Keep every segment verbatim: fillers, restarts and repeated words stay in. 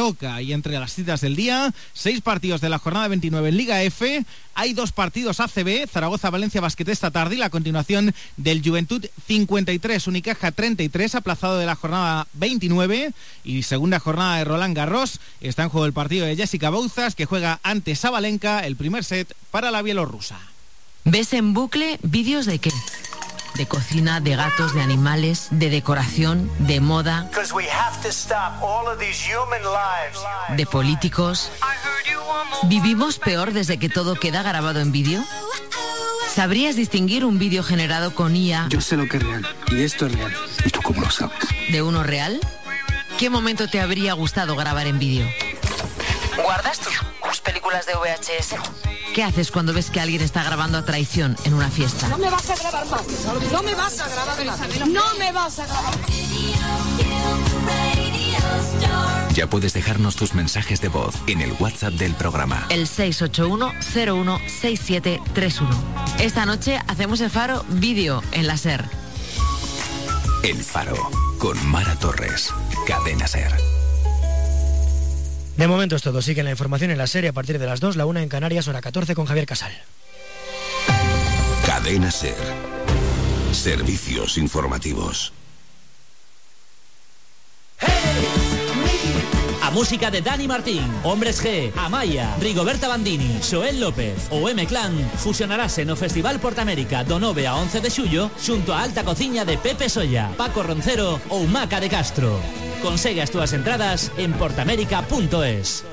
Daroca. Y entre las citas del día, seis partidos de la jornada veintinueve en Liga F. Hay dos partidos A C B, Zaragoza-Valencia Basket esta tarde y la continuación del Juventud cincuenta y tres, Unicaja treinta y tres, aplazado de la jornada veintinueve. Y segunda jornada de Roland Garros. Está en juego el partido de Jessica Bouzas, que juega ante Sabalenka, el primer set para la bielorrusa. ¿Ves en bucle vídeos de qué? De cocina, de gatos, de animales, de decoración, de moda, de políticos. ¿Vivimos peor desde que todo queda grabado en vídeo? ¿Sabrías distinguir un vídeo generado con I A? Yo sé lo que es real, y esto es real. ¿Y tú cómo lo sabes? ¿De uno real? ¿Qué momento te habría gustado grabar en vídeo? ¿Guardas tus películas de V H S? ¿Qué haces cuando ves que alguien está grabando a traición en una fiesta? No me vas a grabar más. No me vas a grabar más. No me vas a grabar. Ya puedes dejarnos tus mensajes de voz en el WhatsApp del programa. El seis ocho uno cero uno seis siete tres uno. Esta noche hacemos el Faro vídeo en la SER. El Faro, con Mara Torres. Cadena SER. De momento es todo. Sigue la información en la serie a partir de las dos, la una en Canarias, hora catorce con Javier Casal. Cadena SER. Servicios informativos. A música de Dani Martín, Hombres G, Amaya, Rigoberta Bandini, Xoel López ou M-Clan fusionarase no Festival Portamérica do nove a once de xullo xunto a alta cociña de Pepe Solla, Paco Roncero ou Maca de Castro. Consegue as túas entradas en portamérica punto es.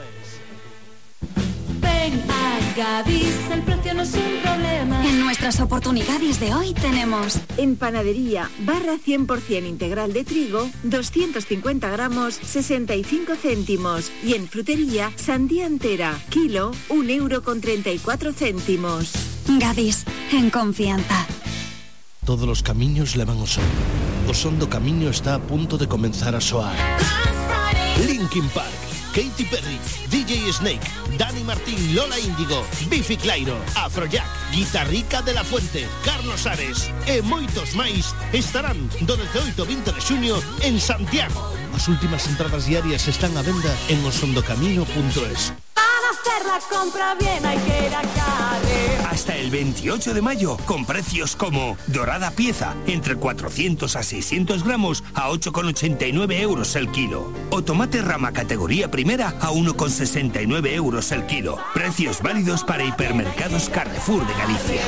Ven a Gadis, el precio no es un problema. En nuestras oportunidades de hoy tenemos en panadería barra cien por ciento integral de trigo, doscientos cincuenta gramos, sesenta y cinco céntimos. Y en frutería, sandía entera, kilo, un euro con treinta y cuatro céntimos. Gadis, en confianza. Todos los camiños levan ao sol. O son do camiño está a punto de comenzar a soar. Linkin Park, Katy Perry, D J Snake, Dani Martín, Lola Índigo, Bifi Clyro, Afrojack, Guitarrica de la Fuente, Carlos Ares e moitos máis estarán do dezaoito ao vinte de xuño en Santiago. As últimas entradas diarias están á venda en osondocamiño punto es. Para hacer la compra bien hay que ir a Carrer. Hasta el veintiocho de mayo, con precios como dorada pieza, entre cuatrocientos a seiscientos gramos, a ocho con ochenta y nueve euros el kilo. O tomate rama categoría primera, a uno con sesenta y nueve euros el kilo. Precios válidos para hipermercados Carrefour de Galicia.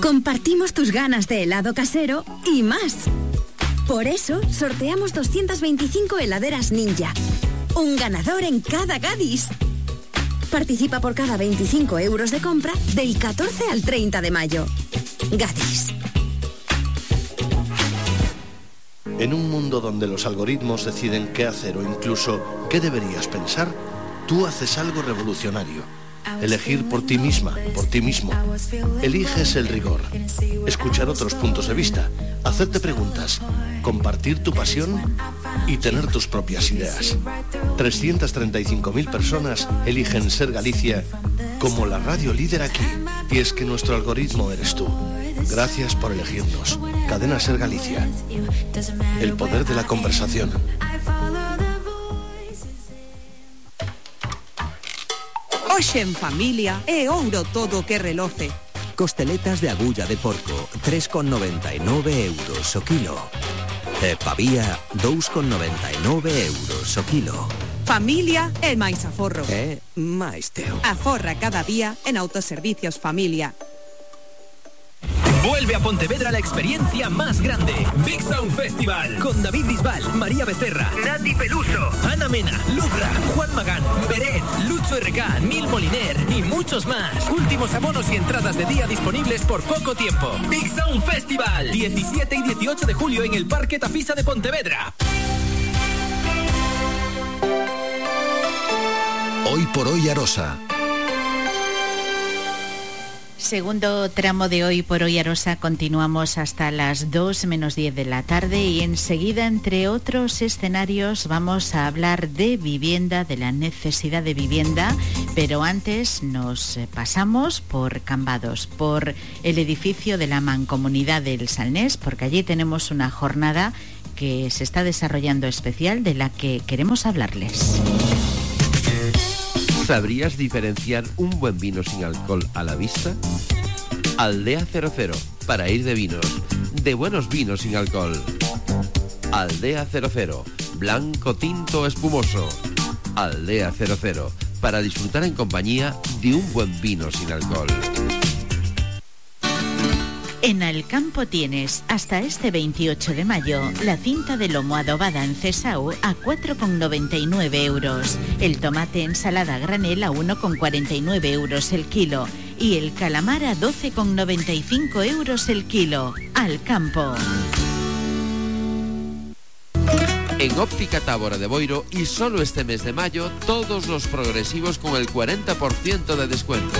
Compartimos tus ganas de helado casero y más. Por eso, sorteamos doscientas veinticinco heladeras Ninja. Un ganador en cada Gadis. Participa por cada veinticinco euros de compra del catorce al treinta de mayo. Gadis. En un mundo donde los algoritmos deciden qué hacer o incluso qué deberías pensar, tú haces algo revolucionario. Elegir por ti misma, por ti mismo. Eliges el rigor. Escuchar otros puntos de vista. Hacerte preguntas. Compartir tu pasión y tener tus propias ideas. trescientas treinta y cinco mil personas eligen Ser Galicia como la radio líder aquí. Y es que nuestro algoritmo eres tú. Gracias por elegirnos. Cadena Ser Galicia. El poder de la conversación. Hoxe en familia é ouro todo o que reloce. Costeletas de agulla de porco, tres con noventa e nove euros o kilo. E pavía, dous con noventa e nove euros o kilo. Familia é máis aforro. É máis teu. Aforra cada día en Autoservicios Familia. Vuelve a Pontevedra la experiencia más grande. Big Sound Festival. Con David Bisbal, María Becerra, Nati Peluso, Ana Mena, Lucra, Juan Magán, Beret, Lucho R K, Nil Moliner y muchos más. Últimos abonos y entradas de día disponibles por poco tiempo. Big Sound Festival. diecisiete y dieciocho de julio en el Parque Tafisa de Pontevedra. Hoy por hoy Arosa. Segundo tramo de Hoy por Hoy Arosa, continuamos hasta las dos menos diez de la tarde y enseguida, entre otros escenarios, vamos a hablar de vivienda, de la necesidad de vivienda, pero antes nos pasamos por Cambados, por el edificio de la Mancomunidad del Salnés, porque allí tenemos una jornada que se está desarrollando especial de la que queremos hablarles. ¿Sabrías diferenciar un buen vino sin alcohol a la vista? Aldea cero cero, para ir de vinos, de buenos vinos sin alcohol. Aldea cero cero, blanco, tinto, espumoso. Aldea cero cero, para disfrutar en compañía de un buen vino sin alcohol. En Alcampo tienes hasta este veintiocho de mayo la cinta de lomo adobada en Cesau a cuatro con noventa y nueve euros, el tomate ensalada a granel a uno con cuarenta y nueve euros el kilo y el calamar a doce con noventa y cinco euros el kilo. Alcampo. En Óptica Tábora de Boiro y solo este mes de mayo, todos los progresivos con el cuarenta por ciento de descuento.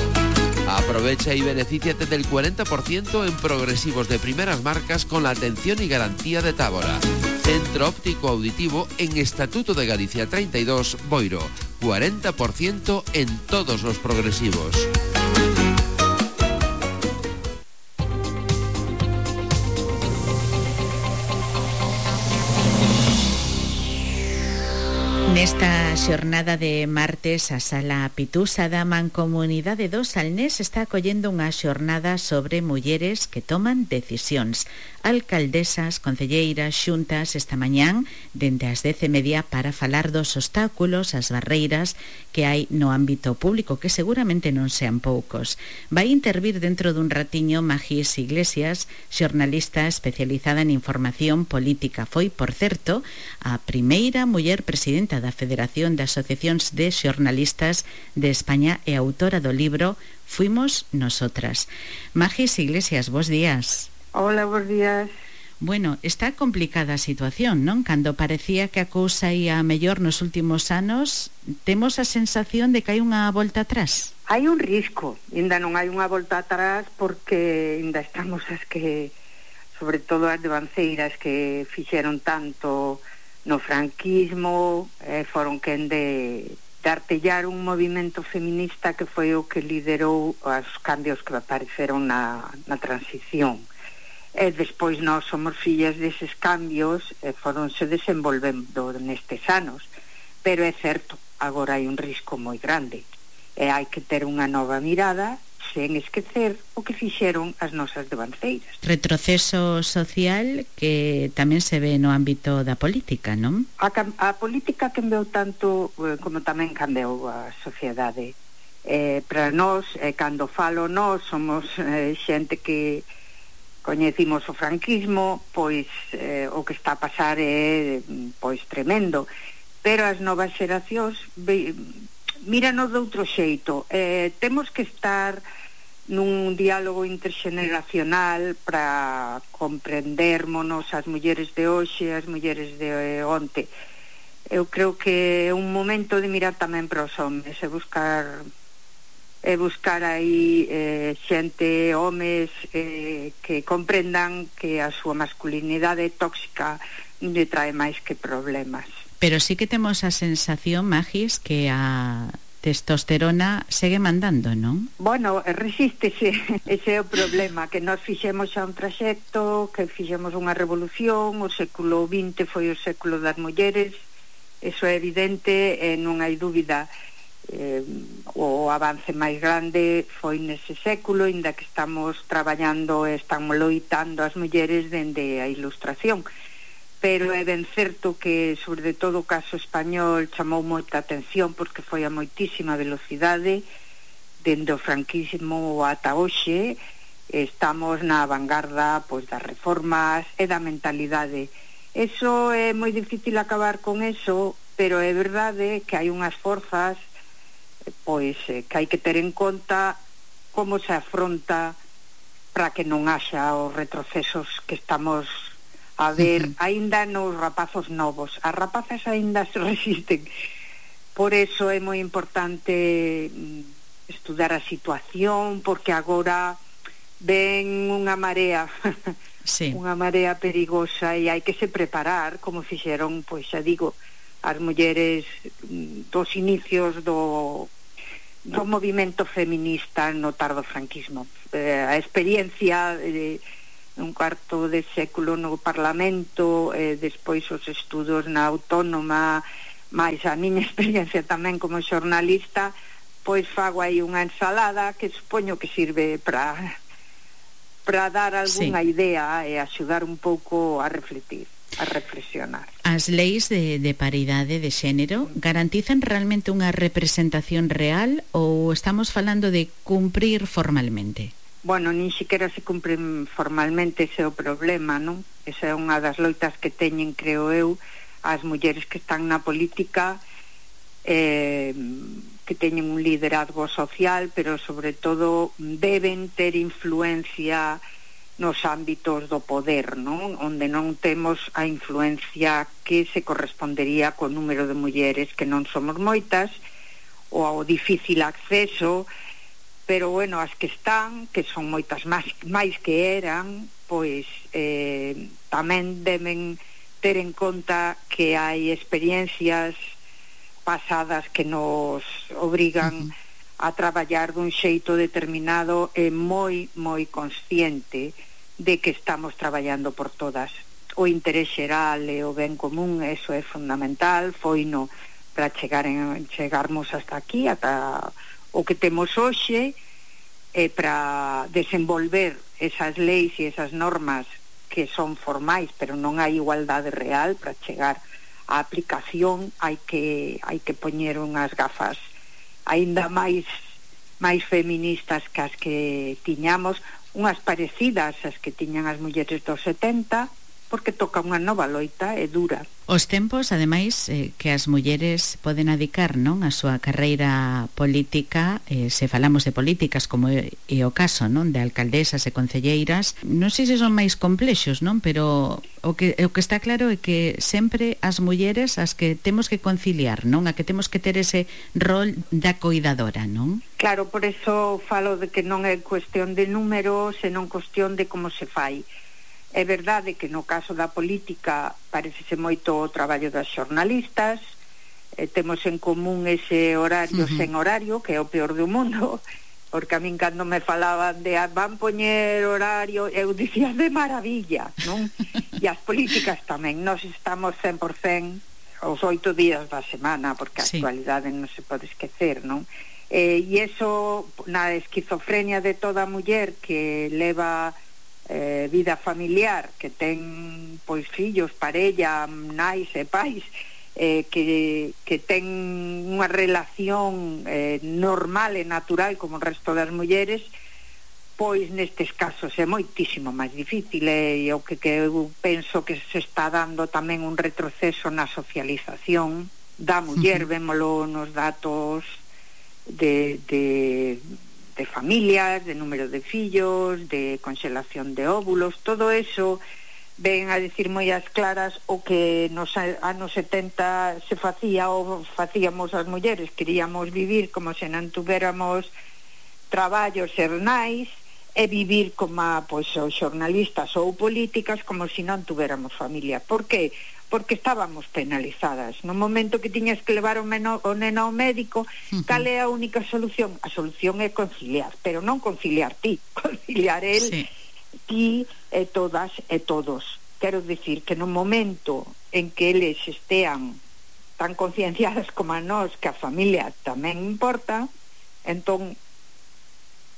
Aprovecha y benefíciate del cuarenta por ciento en progresivos de primeras marcas con la atención y garantía de Tábora. Centro Óptico Auditivo en Estatuto de Galicia treinta y dos, Boiro. cuarenta por ciento en todos los progresivos. Nesta xornada de martes a Sala Pitusa da Mancomunidade do Salnés está acollendo unha xornada sobre mulleres que toman decisións. Alcaldesas, concelleiras, xuntas esta mañán dende as dez e media para falar dos obstáculos, as barreiras que hai no ámbito público, que seguramente non sean poucos. Vai intervir dentro dun ratiño Magis Iglesias, xornalista especializada en información política. Foi, por certo, a primeira muller presidenta da Federación de Asociacións de Xornalistas de España e autora do libro Fuimos Nosotras. Magis Iglesias, bos días. Hola, bos días. Bueno, está complicada a situación, non? Cando parecía que a cousa ia mellor nos últimos anos, temos a sensación de que hai unha volta atrás. Hai un risco, ainda non hai unha volta atrás porque ainda estamos as que, sobre todo as devanceiras que fixeron tanto no franquismo, eh, foron quen de, de artellar un movimento feminista que foi o que liderou os cambios que apareceron na, na transición. E despois nós somos fillas deses cambios e foronse desenvolvendo nestes anos. Pero é certo, agora hai un risco moi grande e hai que ter unha nova mirada sen esquecer o que fixeron as nosas devanceiras. Retroceso social que tamén se ve no ámbito da política, non? A, a política cambiou tanto eh, como tamén cambiou a sociedade. Eh, para nós, eh, cando falo nós, somos eh, xente que coñecimos o franquismo, pois eh, o que está a pasar é pois tremendo, pero as novas xeracións míranos de outro xeito. Eh, temos que estar nun diálogo interxeneracional para comprendermonos as mulleres de hoxe, as mulleres de onte. Eu creo que é un momento de mirar tamén para os homes e buscar e buscar aí eh, xente, homes eh, que comprendan que a súa masculinidade tóxica lle trae máis que problemas. Pero sí que temos a sensación, Magis, que a testosterona segue mandando, non? Bueno, resístese, ese é o problema, que nós fixemos xa un traxecto, que fixemos unha revolución, o século vinte foi o século das mulleres, eso é evidente e non hai dúbida. Eh, o avance máis grande foi nese século, inda que estamos traballando e estamos loitando as mulleres dende a Ilustración, pero é ben certo que sobre todo o caso español chamou moita atención porque foi a moitísima velocidade dende o franquismo ata hoxe. Estamos na vanguarda pois das reformas e da mentalidade. Eso é moi difícil acabar con eso, pero é verdade que hai unhas forzas pois eh, que hai que ter en conta como se afronta para que non haxa os retrocesos que estamos a ver uh-huh. aínda nos rapazos novos. As rapazas aínda se resisten, por eso é moi importante estudar a situación, porque agora ven unha marea sí. unha marea perigosa e hai que se preparar, como fixeron, pois xa digo, as mulleres dos inicios do, do movimento feminista no tardo franquismo. Eh, a experiencia eh, un cuarto de século no Parlamento, e despois os estudos na Autónoma, máis a miña experiencia tamén como xornalista, pois fago aí unha ensalada que supoño que sirve para para dar algunha sí. idea e axudar un pouco a refletir, a reflexionar. As leis de, de paridade de xénero garantizan realmente unha representación real ou estamos falando de cumprir formalmente? Bueno, nin siquiera se cumpren formalmente, ese é o problema, non? Esa é unha das loitas que teñen, creo eu, as mulleres que están na política, eh, que teñen un liderazgo social, pero sobre todo deben ter influencia nos ámbitos do poder, non? Onde non temos a influencia que se correspondería co número de mulleres, que non somos moitas, ou ao difícil acceso, pero bueno, as que están, que son moitas máis, máis que eran, pois eh, tamén deben ter en conta que hai experiencias pasadas que nos obrigan uh-huh. a traballar dun xeito determinado e moi, moi consciente de que estamos traballando por todas. O interés xeral e o ben común, eso é fundamental, foi no para chegar en, chegarmos hasta aquí, ata o que temos hoxe, e para desenvolver esas leis e esas normas que son formais, pero non hai igualdade real. Para chegar á aplicación hai que hai que poñer unhas gafas aínda máis máis feministas que as que tiñamos, unhas parecidas ás que tiñan as mulleres dos setenta, porque toca unha nova loita e dura. Os tempos, ademais, eh, que as mulleres poden adicar, non, a súa carreira política, eh, se falamos de políticas como é, é o caso, non, de alcaldesas e concelleiras, non sei se son máis complexos, non, pero o que o que está claro é que sempre as mulleres as que temos que conciliar, non, a que temos que ter ese rol da coidadora, non? Claro, por eso falo de que non é cuestión de números, senón cuestión de como se fai. É verdade que no caso da política parecese moito o traballo das xornalistas, eh, temos en común ese horario uh-huh. sen horario, que é o peor do mundo, porque a min cando me falaban de ah, van poñer horario, eu dicía de maravilla, non? E as políticas tamén, nós estamos cen por cen os oito días da semana, porque a sí. actualidade non se pode esquecer, non? Eh, e iso, na esquizofrenia de toda muller que leva Eh, vida familiar, que ten pois fillos, parella, nais e pais, eh, que, que ten unha relación eh, normal e natural como o resto das mulleres, pois nestes casos é moitísimo máis difícil, e o que, que eu penso que se está dando tamén un retroceso na socialización da muller, uh-huh. vémolo nos datos de... de de familias, de número de fillos, de conxelación de óvulos, todo eso ven a decir moi as claras o que nos anos setenta se facía ou facíamos as mulleres, queríamos vivir como se non tuveramos traballos xernais e vivir como pois, os xornalistas ou políticas como se non tuveramos familia. Por que? Porque estábamos penalizadas. No momento que tiñas que levar o, meno, o neno ao médico, uh-huh. cal é a única solución? A solución é conciliar, pero non conciliar ti, conciliar el, sí. ti e todas e todos. Quero dicir que no momento en que eles estean tan concienciadas como a nós que a familia tamén importa, entón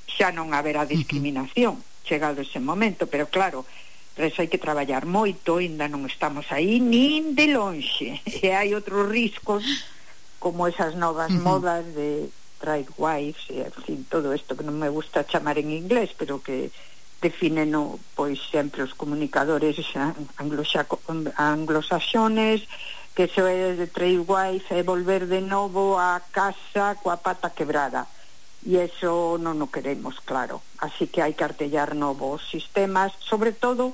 xa non haberá discriminación, uh-huh. chegado ese momento, pero claro, por eso hai que traballar moito, ainda non estamos aí nin de lonxe, e hai outros riscos como esas novas uh-huh. modas de trade wives e en fin, todo isto que non me gusta chamar en inglés, pero que definen no, pois sempre os comunicadores anglosaxones, que eso é de trade wife é volver de novo a casa coa pata quebrada, e eso non o queremos, claro. Así que hai que artellar novos sistemas, sobre todo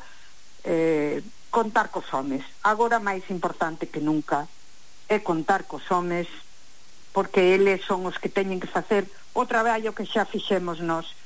eh, contar cos homes. Agora máis importante que nunca é contar cos homes, porque eles son os que teñen que facer o traballo que xa fixemos nós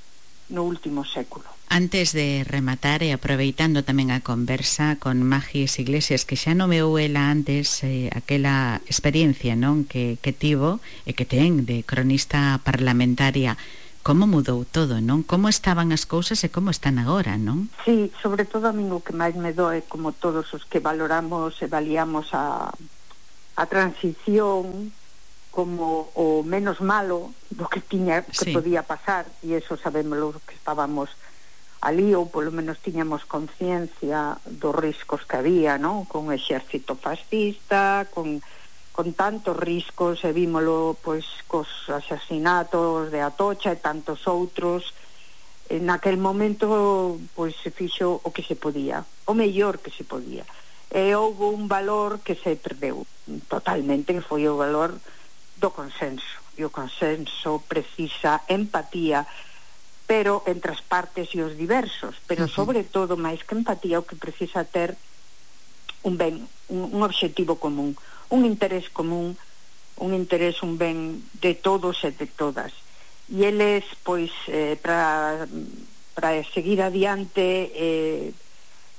no último século. Antes de rematar e aproveitando tamén a conversa con Magis Iglesias, que xa nomeou ela antes eh, aquela experiencia, non, que, que tivo e que ten de cronista parlamentaria, como mudou todo, non? Como estaban as cousas e como están agora, non? Sí, sobre todo a min o que máis me doe, como todos os que valoramos e valíamos a, a transición como o menos malo do que tiña, que sí. podía pasar, e eso sabemos los que estábamos ali, ou polo menos tiñamos conciencia dos riscos que había, non? Con o exército fascista, con con tantos riscos, e vímolo pois cos asasinatos de Atocha e tantos outros. En aquel momento pois se fixo o que se podía, o mellor que se podía, e houve un valor que se perdeu totalmente, que foi o valor do consenso, e o consenso precisa empatía, pero entre as partes e os diversos, pero sobre todo, máis que empatía, o que precisa ter un ben, un, un obxectivo común, un interés común, un interés, un ben de todos e de todas. E eles, pois, eh, para para seguir adiante e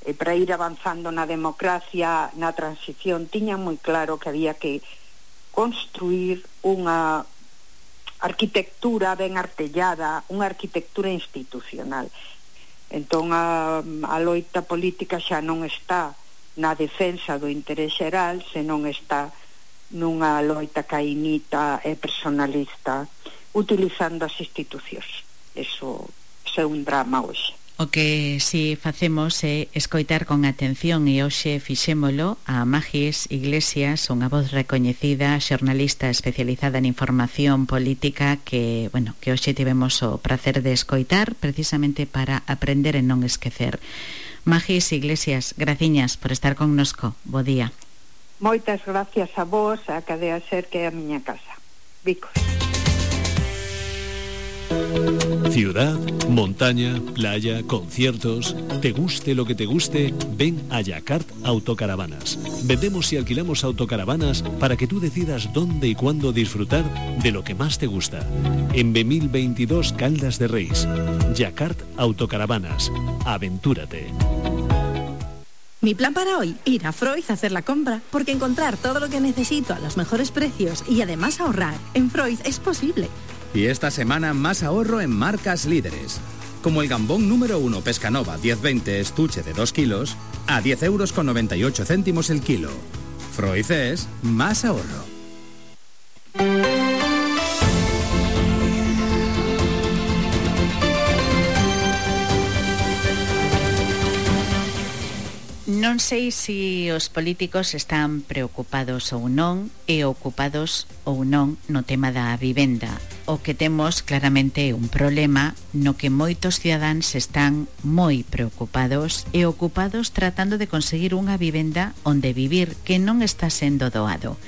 eh, para ir avanzando na democracia, na transición, tiñan moi claro que había que construir unha arquitectura ben artellada, unha arquitectura institucional. Entón a, a loita política xa non está na defensa do interés xeral, senón está nunha loita caínita e personalista, utilizando as institucións. Eso, eso é un drama hoxe. O que si facemos é escoitar con atención, e hoxe fixémolo a Magis Iglesias, unha voz recoñecida, xornalista especializada en información política, que, bueno, que hoxe tivemos o prazer de escoitar precisamente para aprender e non esquecer. Magis Iglesias, graciñas por estar connosco. Bo día. Moitas gracias a vos, a Cadea Ser, que é a miña casa. Vicos. Ciudad, montaña, playa, conciertos. Te guste lo que te guste, ven a Yacart Autocaravanas. Vendemos y alquilamos autocaravanas para que tú decidas dónde y cuándo disfrutar de lo que más te gusta. En B mil veintidós Caldas de Reis. Yacart Autocaravanas. Aventúrate. Mi plan para hoy, ir a Freud a hacer la compra, porque encontrar todo lo que necesito a los mejores precios y además ahorrar en Freud es posible. Y esta semana más ahorro en marcas líderes, como el gambón número uno Pescanova diez veinte estuche de dos kilos a diez euros con noventa y ocho céntimos el kilo. Freud es más ahorro. Non sei se os políticos están preocupados ou non e ocupados ou non no tema da vivenda. O que temos claramente é un problema no que moitos cidadáns están moi preocupados e ocupados tratando de conseguir unha vivenda onde vivir que non está sendo doado.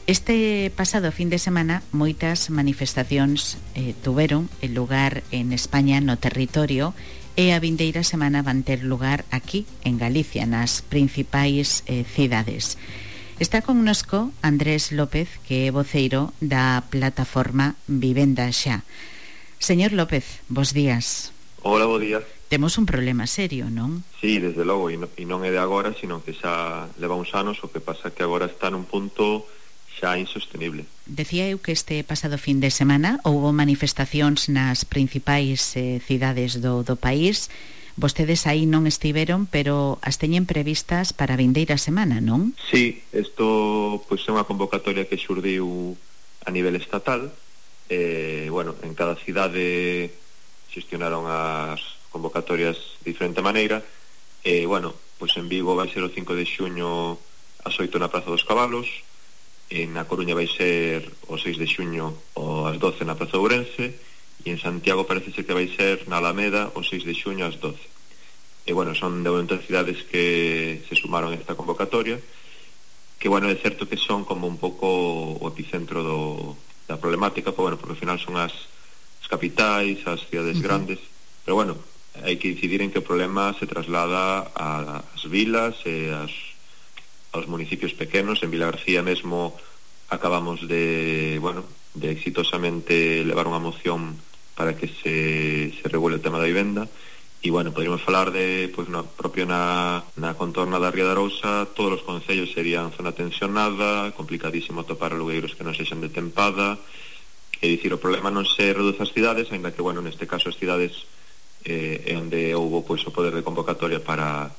Este pasado fin de semana moitas manifestacións eh, tuveron el lugar en España, no territorio, e a vindeira semana van ter lugar aquí, en Galicia, nas principais eh, cidades. Está connosco Andrés López, que é voceiro da plataforma Vivenda Xa. Señor López, bos días. Hola, bo día. Temos un problema serio, non? Sí, desde logo, e non, e non é de agora, sino que xa leva uns anos, o que pasa que agora está nun punto xa insostenible. Decía eu que este pasado fin de semana houbo manifestacións nas principais eh, cidades do, do país. Vostedes aí non estiveron, pero as teñen previstas para a vindeira semana, non? Sí, isto pois é unha convocatoria que xurdiu a nivel estatal. Eh, bueno, en cada cidade xestionaron as convocatorias de diferente maneira. E, eh, bueno, pois en Vigo vai ser o cinco de xuño ás oito na Praza dos Cabalos. En A Coruña vai ser o seis de xuño ou ás doce na Praza de Ourense, e en Santiago parece ser que vai ser na Alameda o seis de xuño ás doce. E bueno, son de outras cidades que se sumaron a esta convocatoria, que bueno, é certo que son como un pouco o epicentro do, da problemática, pero bueno, porque ao final son as, as capitais, as cidades uh-huh. grandes, pero bueno, hai que incidir en que o problema se traslada ás vilas e as aos municipios pequenos. En Vilagarcía mesmo acabamos de, bueno, de exitosamente levar unha moción para que se, se regule o tema da vivenda. E, bueno, poderíamos falar de, pois, na, propio na, na contorna da Ría de Arousa, todos os concellos serían zona tensionada, complicadísimo atopar alugueiros que non sexan de tempada, É dicir, o problema non se reduce ás cidades, ainda que, bueno, neste caso as cidades eh, é onde houbo pois, o poder de convocatoria para,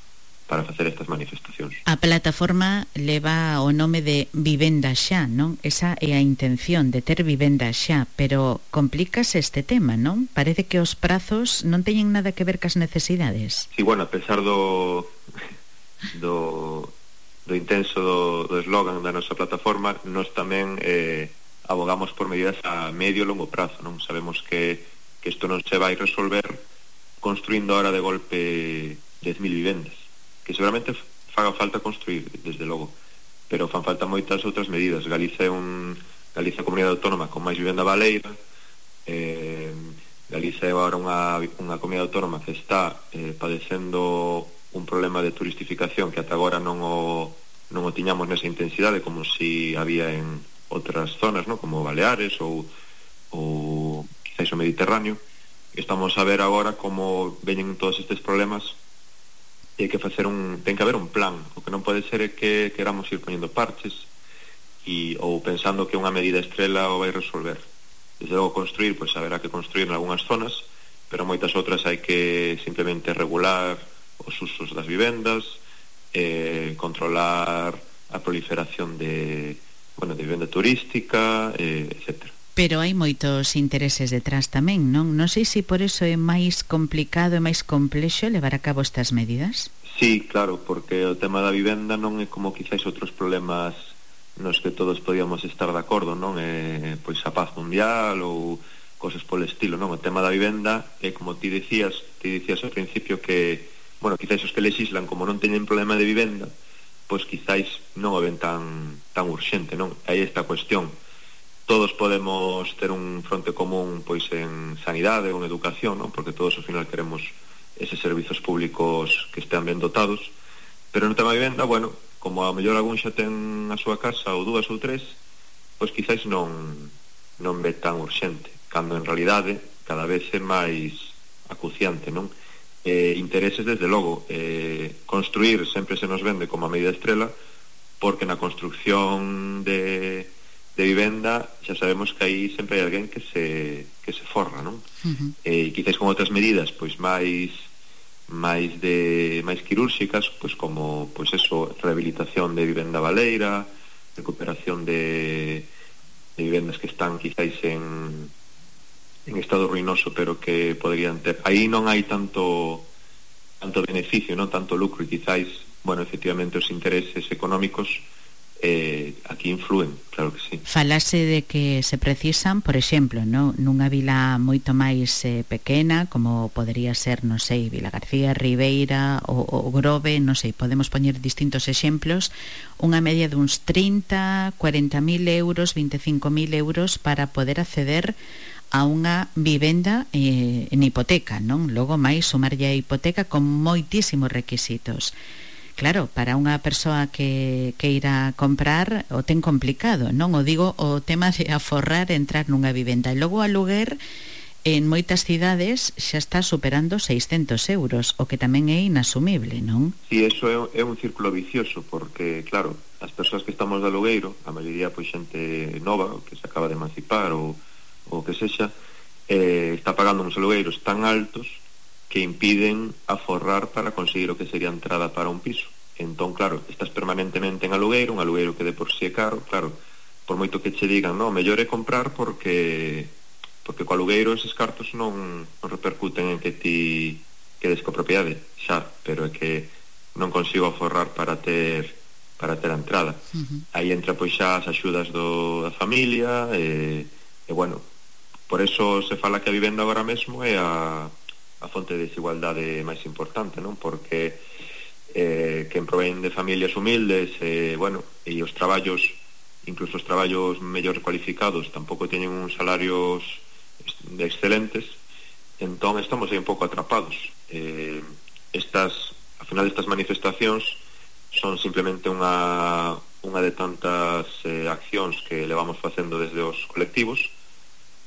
para facer estas manifestacións. A plataforma leva o nome de Vivenda Xa, non? Esa é a intención de ter vivenda xa, pero complícase este tema, non? Parece que os prazos non teñen nada que ver cas necesidades. Sí, bueno, a pesar do do, do intenso do, do eslogan da nosa plataforma, nós tamén eh, abogamos por medidas a medio e longo prazo, non? Sabemos que, que isto non se vai resolver construindo ahora de golpe dez mil vivendas, que seguramente faga falta construir, desde logo, pero fan falta moitas outras medidas. Galicia é un Galicia é a comunidade autónoma con máis vivenda baleira, eh, Galicia é agora unha, unha comunidade autónoma que está eh, padecendo un problema de turistificación que ata agora non o, non o tiñamos nesa intensidade como si había en outras zonas, ¿no? Como Baleares ou, ou quizás o Mediterráneo. Estamos a ver agora como veñen todos estes problemas e hai que facer un, ten que haber un plan. O que non pode ser é que queramos ir poñendo parches e, ou pensando que unha medida estrela o vai resolver. Desde logo construir, pois haberá que construir en algunhas zonas, pero moitas outras hai que simplemente regular os usos das vivendas, eh, controlar a proliferación de bueno, de vivenda turística, eh, etcétera. Pero hai moitos intereses detrás tamén, non? Non sei se por eso é máis complicado e máis complexo levar a cabo estas medidas. Sí, claro, porque o tema da vivenda non é como quizás outros problemas nos que todos podíamos estar de acordo, non? É, pois a paz mundial ou cosas polo estilo, non? O tema da vivenda é como ti decías, ti decías ao principio que, bueno, quizás os que legislan como non teñen problema de vivenda, pois quizáis non o ven tan tan urxente, non? Aí está a cuestión. Todos podemos ter un fronte común pois en sanidade ou en educación, non? Porque todos ao final queremos eses servizos públicos que estean ben dotados, pero no tema de vivenda, bueno, como a mellor algún xa ten a súa casa ou dúas ou tres, pois quizáis non non ve tan urxente, cando en realidade cada vez é máis acuciante, non? Eh, intereses desde logo, eh, construir sempre se nos vende como a medida estrela, porque na construcción de, de vivenda xa sabemos que aí sempre hai alguén que se, que se forra, non? Uh-huh. Eh, e quizás con outras medidas pois máis máis de máis quirúrxicas, pois como pois eso, rehabilitación de vivenda baleira, recuperación de, de vivendas que están quizás en en estado ruinoso, pero que poderían ter. Aí non hai tanto tanto beneficio, non tanto lucro, e quizáis, bueno, efectivamente os intereses económicos eh, aquí influen, claro que sí. Falase de que se precisan, por exemplo, no, nunha vila moito máis eh, pequena, como podería ser, non sei, Vila García, Ribeira ou, ou Grove, non sei, podemos poñer distintos exemplos, unha media de uns trinta, cuarenta mil euros, veinticinco mil euros para poder acceder a unha vivenda eh, en hipoteca, non? Logo máis sumarlle a hipoteca con moitísimos requisitos. Claro, para unha persoa que, que irá comprar o ten complicado, non? O digo o tema de aforrar entrar nunha vivenda. E logo o aluguer en moitas cidades xa está superando seiscentos euros, o que tamén é inasumible, non? Sí, eso é, é un círculo vicioso, porque, claro, as persoas que estamos de alugueiro, a maioría pois xente nova, que se acaba de emancipar ou o que sexa, eh, está pagando uns alugueiros tan altos que impiden aforrar para conseguir o que sería a entrada para un piso. Entón, claro, estás permanentemente en alugueiro, un alugueiro que de por si é caro, claro, por moito que che digan, no, mellor é comprar porque porque co alugueiro eses cartos non, non repercuten en que ti quedes coa propiedade, xa, pero é que non consigo aforrar para ter para ter a entrada. Uh-huh. Aí entra pois xa as axudas do, da familia, e, e bueno, por eso se fala que a vivenda agora mesmo é a, a fonte de desigualdade máis importante, non? Porque eh, quen provén de familias humildes, eh, bueno, e os traballos, incluso os traballos mellor cualificados, tampouco teñen uns salarios excelentes, entón estamos aí un pouco atrapados. Eh, estas, ao final estas manifestacións son simplemente unha, unha de tantas eh, accións que levamos facendo desde os colectivos,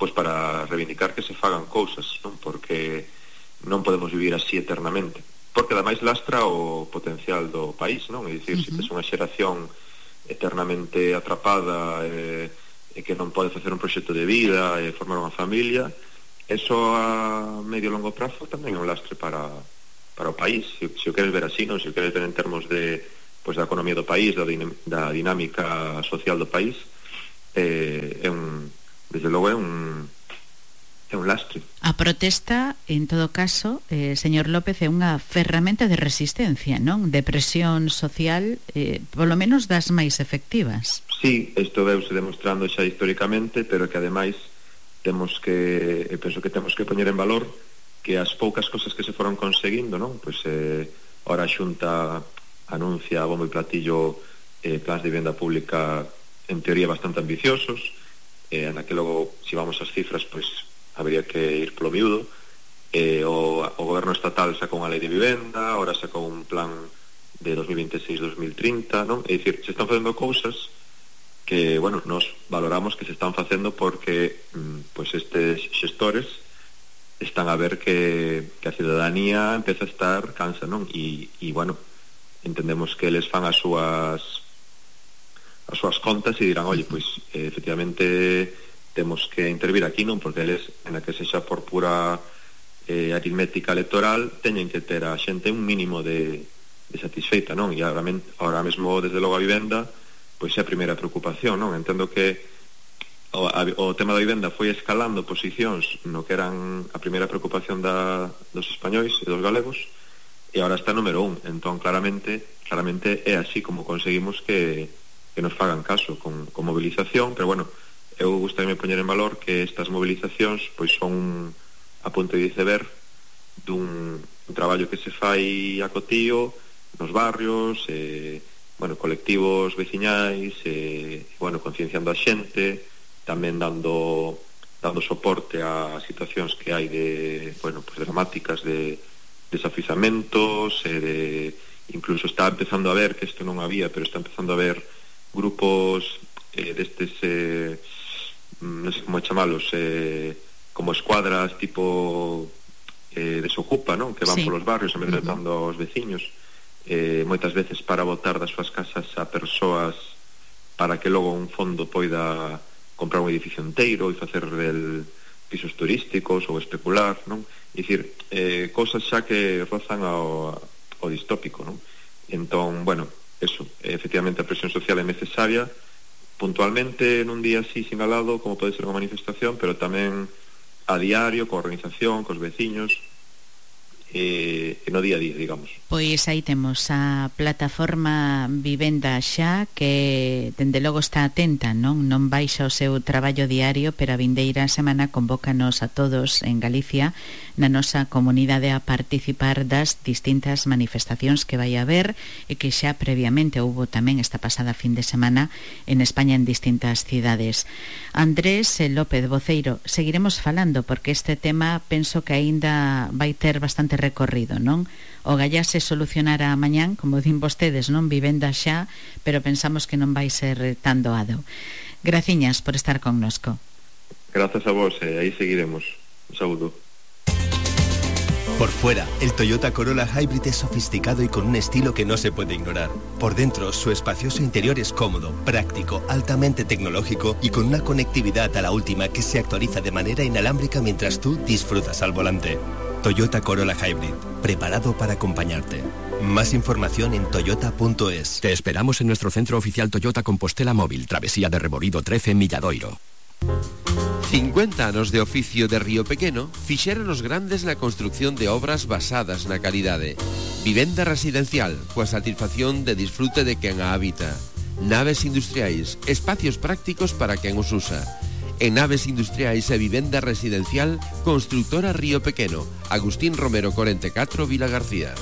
pois para reivindicar que se fagan cousas, non? Porque non podemos vivir así eternamente, porque ademais lastra o potencial do país, non? É dicir, uh-huh. se tes unha xeración eternamente atrapada, eh, e que que non pode facer un proxecto de vida e formar unha familia, eso a medio e longo prazo tamén é un lastre para, para o país, se, se o queres ver así, non? Se o queres ver en termos de, pues, da economía do país, da, da dinámica social do país, eh, é un, desde logo é un é un lastre. A protesta, en todo caso, eh, señor López, é unha ferramenta de resistencia, non? De presión social, eh, polo menos das máis efectivas. Sí, isto veuse demostrando xa históricamente, pero que ademais temos que, eu penso que temos que poñer en valor que as poucas cosas que se foron conseguindo, non? Pois eh, ora a Xunta anuncia a bombo e platillo eh, plans de vivenda pública en teoría bastante ambiciosos, eh, na que logo, se vamos ás cifras, pois habría que ir polo miúdo. eh, o, o goberno estatal sacou unha lei de vivenda, ahora sacou un plan de dos mil veintiséis a dos mil trinta, non? É dicir, se están facendo cousas que, bueno, nos valoramos que se están facendo porque mm, pues estes xestores están a ver que, que a ciudadanía empeza a estar cansa, non? E, e bueno, entendemos que eles fan as súas as súas contas e dirán, oye, pois pues, eh, efectivamente temos que intervir aquí, non? Porque eles, en a que sexa por pura eh, aritmética electoral, teñen que ter a xente un mínimo de, de satisfeita, non? E agora, agora mesmo, desde logo, a vivenda pois é a primeira preocupación, non? Entendo que o, a, o tema da vivenda foi escalando posicións no que eran a primeira preocupación da, dos españois e dos galegos, e agora está número un. Entón, claramente, claramente é así como conseguimos que, que nos fagan caso con, con movilización, pero bueno, eu gustaríame poñer en valor que estas movilizacións pois son a punto de iceberg dun, un traballo que se fai a cotío nos barrios, eh, bueno, colectivos veciñais, eh, bueno, concienciando a xente, tamén dando dando soporte a situacións que hai de, bueno, pues dramáticas de desafizamentos, eh, de incluso está empezando a ver, que isto non había, pero está empezando a ver grupos eh, destes eh, non sei como chamalos, eh, como escuadras tipo eh, desocupa, non? Que van sí. polos barrios amedrentando uh-huh. aos veciños, eh, moitas veces para botar das súas casas a persoas para que logo un fondo poida comprar un edificio inteiro e facer del pisos turísticos ou especular, non? É dicir, eh, cosas xa que rozan ao, ao distópico, non? Entón, bueno, eso, efectivamente a presión social é necesaria puntualmente nun día así sinalado como pode ser unha manifestación, pero tamén a diario, coa organización, cos veciños e, e no día a día, digamos. Pois aí temos a plataforma Vivenda Xa, que dende logo está atenta, non non baixa o seu traballo diario, pero a vindeira semana convócanos a todos en Galicia, na nosa comunidade, a participar das distintas manifestacións que vai haber e que xa previamente houbo tamén esta pasada fin de semana en España en distintas cidades. Andrés López, voceiro, seguiremos falando porque este tema penso que aínda vai ter bastante recorrido, non? O gallá se solucionará mañán, como din vostedes, non? Vivenda xa, pero pensamos que non vai ser tan doado. Graciñas por estar connosco. Grazas a vos, e eh, aí seguiremos. Un saúdo. Por fuera, el Toyota Corolla Hybrid es sofisticado y con un estilo que no se puede ignorar. Por dentro, su espacioso interior es cómodo, práctico, altamente tecnológico y con una conectividad a la última que se actualiza de manera inalámbrica mientras tú disfrutas al volante. Toyota Corolla Hybrid, preparado para acompañarte. Más información en toyota punto es. Te esperamos en nuestro centro oficial Toyota Compostela Móvil, Travesía de Reborido trece, Milladoiro. cincuenta anos de oficio de Río Pequeno fixeron os grandes na construcción de obras basadas na calidade. Vivenda residencial, coa satisfacción de disfrute de quen a habita. Naves industriais, espacios prácticos para quen os usa. En Naves Industriais e Vivenda Residencial, Constructora Río Pequeno, Agustín Romero cuarenta y cuatro, Vila García.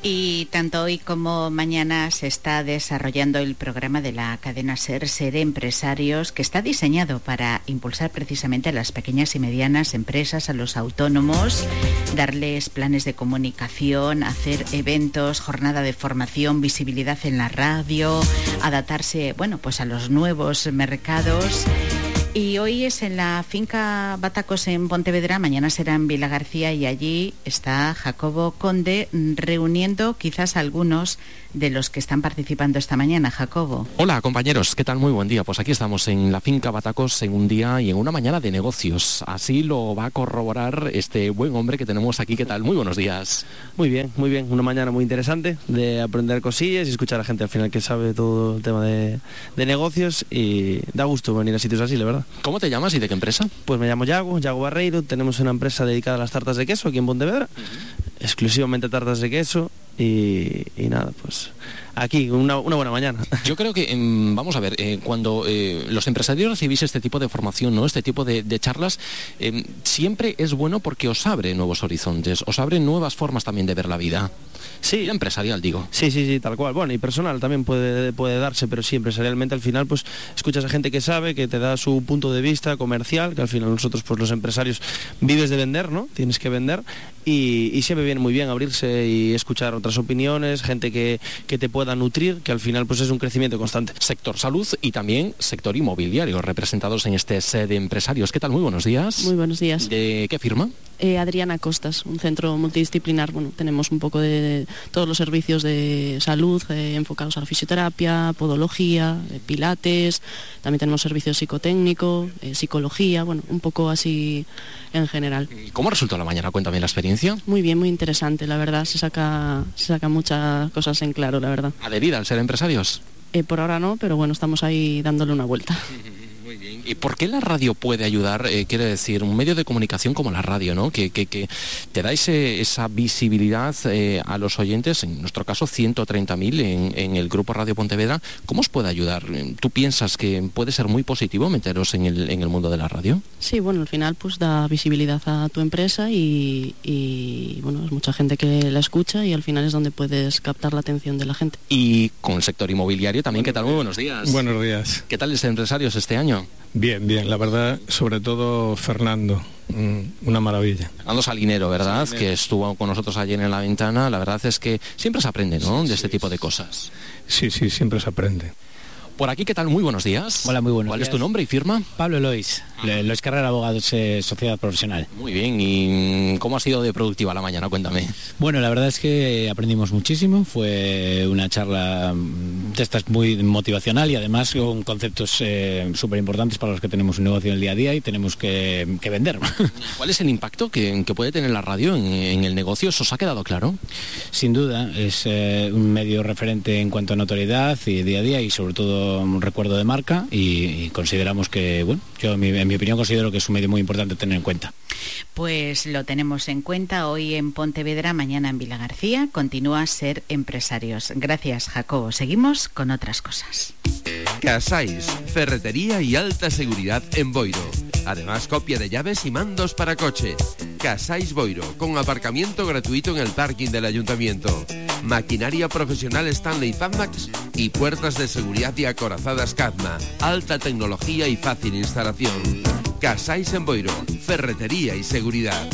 Y tanto hoy como mañana se está desarrollando el programa de la cadena SER, SER Empresarios, que está diseñado para impulsar precisamente a las pequeñas y medianas empresas, a los autónomos, darles planes de comunicación, hacer eventos, jornada de formación, visibilidad en la radio, adaptarse, bueno, pues a los nuevos mercados. Y hoy es en la finca Batacos en Pontevedra, mañana será en Vilagarcía y allí está Jacobo Conde reuniendo quizás algunos de los que están participando esta mañana. Jacobo. Hola compañeros, ¿qué tal? Muy buen día. Pues aquí estamos en la finca Batacos en un día y en una mañana de negocios. Así lo va a corroborar este buen hombre que tenemos aquí. ¿Qué tal? Muy buenos días. Muy bien, muy bien. Una mañana muy interesante de aprender cosillas y escuchar a gente al final que sabe todo el tema de, de negocios y da gusto venir a sitios así, la verdad. ¿Cómo te llamas y de qué empresa? Pues me llamo Yago, Yago Barreiro, tenemos una empresa dedicada a las tartas de queso aquí en Pontevedra, uh-huh. exclusivamente tartas de queso y, y nada, pues aquí, una, una buena mañana. Yo creo que, eh, vamos a ver, eh, cuando eh, los empresarios recibís este tipo de formación, ¿no? Este tipo de, de charlas, eh, siempre es bueno porque os abre nuevos horizontes, os abre nuevas formas también de ver la vida. Sí, empresarial, digo. Sí, sí, sí, tal cual. Bueno, y personal también puede, puede darse, pero sí, empresarialmente al final pues escuchas a gente que sabe, que te da su punto de vista comercial, que al final nosotros pues los empresarios vives de vender, ¿no? Tienes que vender y, y siempre viene muy bien abrirse y escuchar otras opiniones, gente que, que te pueda nutrir, que al final pues es un crecimiento constante. Sector salud y también sector inmobiliario, representados en este set de empresarios. ¿Qué tal? Muy buenos días. Muy buenos días. ¿De qué firma? Eh, Adriana Costas, un centro multidisciplinar. Bueno, tenemos un poco de todos los servicios de salud eh, enfocados a la fisioterapia, podología, eh, pilates, también tenemos servicios psicotécnico, eh, psicología, bueno, un poco así en general. ¿Cómo resultó la mañana? Cuéntame la experiencia. Muy bien, muy interesante, la verdad, se saca, se saca muchas cosas en claro, la verdad. ¿Adherida al ser empresarios? Eh, por ahora no, pero bueno, estamos ahí dándole una vuelta. Muy bien. ¿Y por qué la radio puede ayudar? Eh, quiere decir, un medio de comunicación como la radio, ¿no? Que, que, que te da ese, esa visibilidad eh, a los oyentes, en nuestro caso ciento treinta mil en, en el Grupo Radio Pontevedra. ¿Cómo os puede ayudar? ¿Tú piensas que puede ser muy positivo meteros en el, en el mundo de la radio? Sí, bueno, al final pues da visibilidad a tu empresa y, y bueno, es mucha gente que la escucha y al final es donde puedes captar la atención de la gente. Y con el sector inmobiliario también, ¿qué tal? Muy buenos días. Buenos días. ¿Qué tal los empresarios este año? Bien, bien, la verdad, sobre todo Fernando, una maravilla. Fernando Salinero, ¿verdad? Salinero. Que estuvo con nosotros ayer en la ventana. La verdad es que siempre se aprende, ¿no? De sí, este sí, tipo de cosas. Sí, sí, siempre se aprende. Por aquí, ¿qué tal? Muy buenos días. Hola, muy buenos ¿Cuál días. es tu nombre y firma? Pablo Lois, ah. Lois Carrera, Abogados, eh, Sociedad Profesional. Muy bien, ¿y cómo ha sido de productiva la mañana? Cuéntame. Bueno, la verdad es que aprendimos muchísimo, fue una charla de estas muy motivacional y además con conceptos eh, súper importantes para los que tenemos un negocio en el día a día y tenemos que, que vender. ¿Cuál es el impacto que, que puede tener la radio en, en el negocio? ¿Os ha quedado claro? Sin duda, es eh, un medio referente en cuanto a notoriedad y día a día y sobre todo un recuerdo de marca y, y consideramos que, bueno, yo en mi, en mi opinión considero que es un medio muy importante tener en cuenta. Pues lo tenemos en cuenta hoy en Pontevedra, mañana en Vilagarcía. Continúa a ser empresarios. Gracias, Jacobo. Seguimos con otras cosas. Casais, ferretería y alta seguridad en Boiro. Además, copia de llaves y mandos para coche. Casais Boiro, con aparcamiento gratuito en el parking del ayuntamiento. Maquinaria profesional Stanley Fatmax y puertas de seguridad y acorazadas Cadma. Alta tecnología y fácil instalación. Casais en Boiro, ferretería y seguridad.